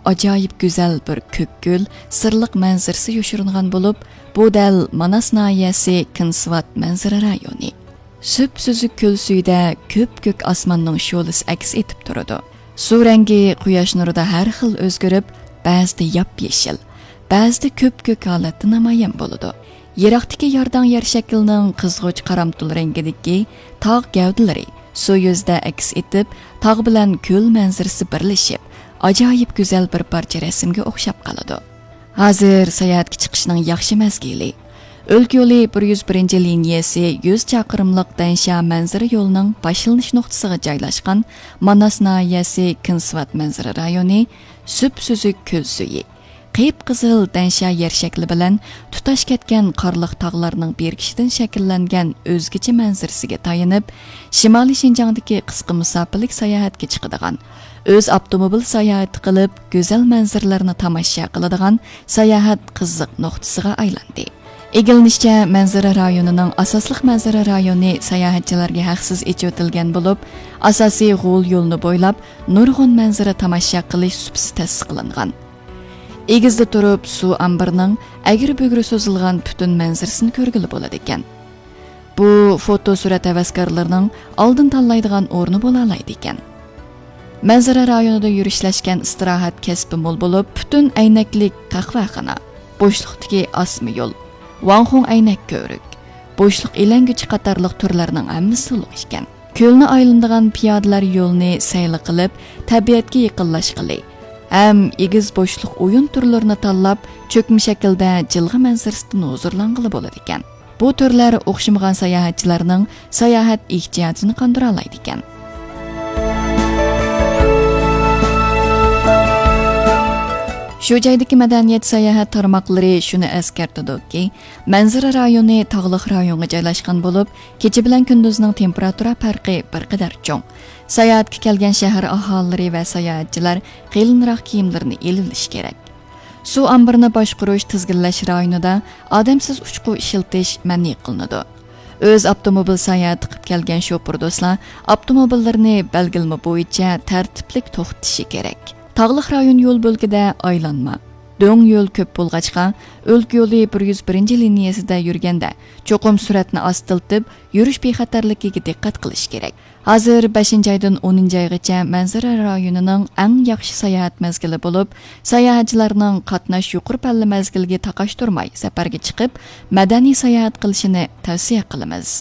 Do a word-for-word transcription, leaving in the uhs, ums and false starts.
ئاجايىپ گۈزەل بىر كۆك كۆل، سىرلىق مەنزىرىسى يوشۇرۇنغان بولۇپ، بۇ دەل ماناس ناھىيەسى كىنسۋات مەنزىرە رايونى. سۈپسۈزۈك كۆل سۈيىدە كۆپكۆك ئاسماننىڭ شولىسى ئەكس ئېتىپ تۇرىدۇ. سۇ رەڭگى قۇياش نۇرىدا ھەر خىل ئۆزگىرىپ، بەزىدە ياپيېشىل، بەزىدە كۆپكۆك ھالەتتە نامايان بولىدۇ. يىراقتىكى يارداڭ يەر شەكلىنىڭ قىزغۇچ قارامتۇل رەڭگىدىكى تاغ گەۋدىلىرى سۇ يۈزىدە ئەكس ئېتىپ، تاغ بىلەن كۆل مەنزىرىسى بىرلىشىپ، ئاجايىپ گۈزەل بىر پارچە رەسىمگە ئوخشاپ قالىدۇ. ھازىر ساياھەتكە چىقىشنىڭ ياخشى مەزگىلى. ئۆلكە يولى بىر يۈز بىرىنچى لىنىيەسى يۈز چاقىرىملىق دەنشيا مەنزىرە يولىنىڭ باشلىنىش نۇقتىسىغا جايلاشقان ماناس ناھىيەسى كىنسۋات مەنزىرە رايونى سۈپسۈزۈك كۆل سۈيى، قىپقىزىل دەنشيا يەر شەكلى بىلەن تۇتاش كەتكەن قارلىق تاغلارنىڭ بىرىكىشىدىن شەكىللەنگەن ئۆزگىچە مەنزىرىسىگە تايىنىپ، شىمالىي شىنجاڭدىكى قىسقا مۇساپىلىك ساياھەتكە چىقىدىغان، ئۆز ئاپتوموبىل ساياھىتى قىلىپ، گۈزەل مەنزىرىلەرنى تاماشا قىلىدىغان ساياھەت قىزىق نۇقتىسىغا ئايلاندى. ئىگىلىنىشىچە، مەنزىرە رايونىنىڭ ئاساسلىق مەنزىرە رايونى ساياھەتچىلەرگە ھەقسىز ئېچىۋېتىلگەن بولۇپ، ئاساسىي غول يولىنى بويلاپ نۇرغۇن مەنزىرە تاماشا قىلىش سۇپىسى تەسىس قىلىنغان. ئېگىزدە تۇرۇپ سۇ ئامبىرىنىڭ ئەگرى-بۈگرى سوزۇلغان پۈتۈن مەنزىرىسىنى كۆرگىلى بولىدىكەن. بۇ فوتو سۈرەت ھەۋەسكارلىرىنىڭ ئالدىن تاللايدىغان ئورنى بولالايدىكەن. مەنزىرە رايونىدا يۈرۈشلەشكەن ئىستىراھەت كەسپى مول بولۇپ، پۈتۈن ئەينەكلىك قەھۋەخانا، بوشلۇقتىكى ئاسما يول، ۋاڭخۇڭ ئەينەك كۆۋرۈك، بوشلۇق ئىلەڭگۈچى قاتارلىق تۈرلەرنىڭ ھەممىسى تولۇق ئىكەن. كۆلنى ئايلىنىدىغان پىيادىلەر يولىنى سەيلە قىلىپ، تەبىئەتكە يېقىنلاشقىلى ھەم ئېگىز بوشلۇق ئويۇن تۈرلىرىنى تاللاپ، چۆكمە شەكىلدە جىلغا مەنزىرىسىدىن ھۇزۇرلانغىلى بولىدىكەن. بۇ تۈرلەر ئوخشىمىغان ساياھەتچىلەرنىڭ ساياھەت ئېھتىياجىنى قاندۇرالايدىكەن. شۇ جايدىكى مەدەنىيەت ساياھەت تارماقلىرى شۇنى ئەسكەرتىدۇكى، مەنزىرە رايونى تاغلىق رايونغا جايلاشقان بولۇپ، كېچە بىلەن كۈندۈزنىڭ تېمپېراتۇرا پەرقى بىر قەدەر چوڭ. ساياھەتكە كەلگەن شەھەر ئاھالىلىرى ۋە ساياھەتچىلەر قېلىنراق كىيىملىرىنى ئېلىۋېلىشى كېرەك. سۇ ئامبىرىنى باشقۇرۇش، تىزگىنلەش رايونىدا ئادەمسىز ئۇچقۇ ئىشلىتىش مەنئى قىلىنىدۇ. ئۆز ئاپتوموبىل ساياھىتى قىلىپ كەلگەن شوپۇر دوستلار ئاپتوموبىللىرىنى بەلگىلىمە بويىچە تەرتىپلىك توختىتىشى كېرەك. تاغلىق رايون يول بۆلىكىدە ئايلانما، دۆڭ يول كۆپ بولغاچقا، ئۆلكە يولى بىر يۈز بىرىنچى لىنىيەسىدە يۈرگەندە، چوقۇم سۈرئەتنى ئاستىلىتىپ، يۈرۈش بىخەتەرلىكىگە دىققەت قىلىش كېرەك. ھازىر بەشىنچى ئايدىن ئونىنچى ئايغىچە مەنزىرە رايونىنىڭ ئەڭ ياخشى ساياھەت مەزگىلى بولۇپ، ساياھەتچىلەرنىڭ قاتناش يۇقىرى پەللە مەزگىلىگە تاقاشتۇرماي سەپەرگە چىقىپ، مەدەنىي ساياھەت قىلىشىنى تەۋسىيە قىلىمىز.